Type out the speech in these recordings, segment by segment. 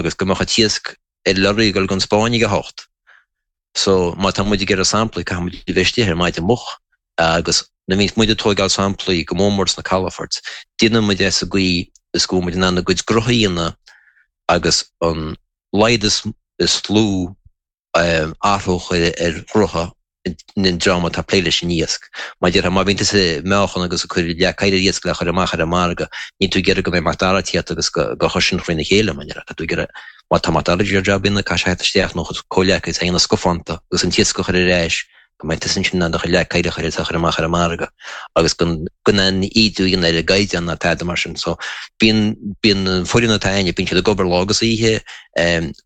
Agus go mbeadh an t-iasc ar lorry ag dul gon Spáinn ag a hocht. So má tá muid ag iarraidh samplaí caithfidh muid a bheith istigh ar maidin moch agus nuair a bhíonns muid ag tóigeáil samplaí go mór mór sna calafoirt, déanann muid é sa gcaoi is go bhfuil muid in ann a gcuid grutha a dhéanamh agus an laghad is lú athrú a chur ar ghrutha an dream atá ag plé leis an iasc. Mar a déarfá, má bhíonn tusa ag meáchan agus ag cur leac oighir ar iasc le chur amach ar an margadh, níl tú ag iarraidh go mbeidh Mac Dara ag tíocht agus go chur sin thrína chéile, mar a déarfá. Tá tú ag iarraidh, má tá Mac Dara ag iarraidh jab a dhéanamh, caithfidh sé theacht isteach nó a chuid comhghleacaithe a dhéanamh scafánta agus an t-iasc a chur ar ais go mbeidh tusa ansin in ann do chuid leac oighir a chur air is a chur amach ar an margadh agus go in ann ídiú a dhéanamh ar an gcaighdeán ná tada mar sin. So bíonn, bíonn an foireann atá againne, bíonn siad ag obair lá agus oíche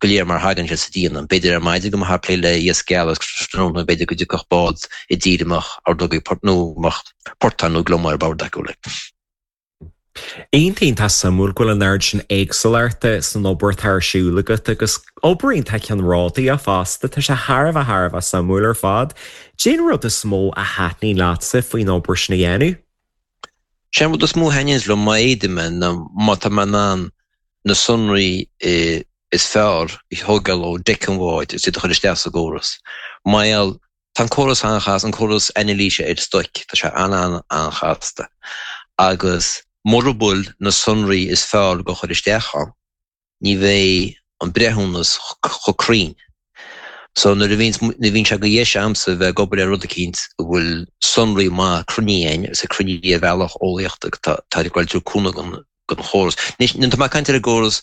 go léir mar thagann siad sa díon. B'fhéidir ar maidin go mbeifeá ag plé le iasc geal agus tráthnóna b'fhéidir go dtiocfadh bád i dtír a mbeadh ordógaí port nó a mbeadh portán nó gliomach ar bord acu like. Iontach iontach suimiúil go bhfuil an oiread sin éagsúlachta san obair atá ar siúl agat agus obair iontach ceannródaíoch fosta. Tá sé thar a bheith thar a bheith suimiúil ar fad. Cén rud is mó a thaitníonn leatsa faoin obair sin a dhéanamh? Sé an rud is mó a thaitníonns liom má fhéadaim é ná má tá mé in ann na sonraí is fearr a thógáil ó deic an bháid agus iad a chur isteach sa gcóras. Mar gheall Tá an córas an-chasta, an córas anailíse ar stoic, tá sé an-an-an-chasta agus mura bhfuil na sonraí is fearr go chur isteach ann, ní bheidh an breithiúnas chomh cruinn. So nuair a bhíonns, nuair a bhíonn sé go dheis a'msa bheith ag obair ar rud eicínt a bhfuil sonraí maith cruinne ann agus cruinne ar bhealach eolaíochta, tá ag goil trú cúnamh an den chóras. Anois, nuair atá mé ag caint ar an gcóras,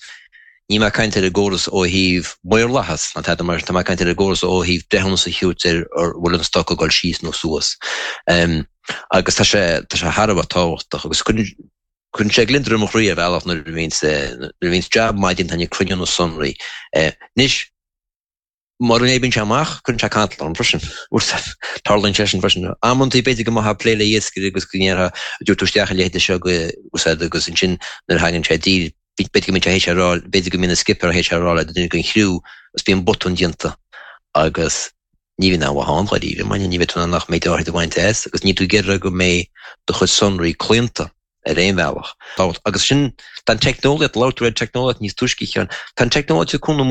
níl mé ag caint ar an gcóras ó thaobh maorlathas ná tada mar sin, tá mé ag caint ar an gcóras ó thaobh breithiúnas a thabhairt ar an bhfuil an stoc ag dul síos nó suas. Agus tá sé, tá sé thar a bheith tábhachtach agus cuireann, cuireann sé gliondar i mo chroí ar bhealach nuair a bhíonns, nuair a bhíonns jab maith déanta againn ag cruinniú na sonraí. Anois, Mura n-oibríonn sé amach, cuireann sé cantal orm freisin. Tarlaíonn sé sin freisin. Amantaí, b'fhéidir go mbeifeá ag plé le iascaire agus go ndéarfá, an dtabharfaidh tú isteach a leithéid seo go úsáid agus ansin nuair a thagann sé i dtír, b'fhéidir go mbíonn sé théis a rá, b'fhéidir go mbíonn an skipper théis a rá le duine den chriú agus bíonn botún déanta agus ní bhíonn aon mhaith ann dháiríre, mar ní bheidh tú in ann ach méid áirid a bhaint as agus níl tú ag iarraidh go mbeidh do chuid sonraí claonta ar aon bhealach. Agus sin, tá an teicneolaíocht, labhair tú ar teicneolaíocht níos túisce, a Sheáin, tá an teicneolaíocht ag cúnamh mór.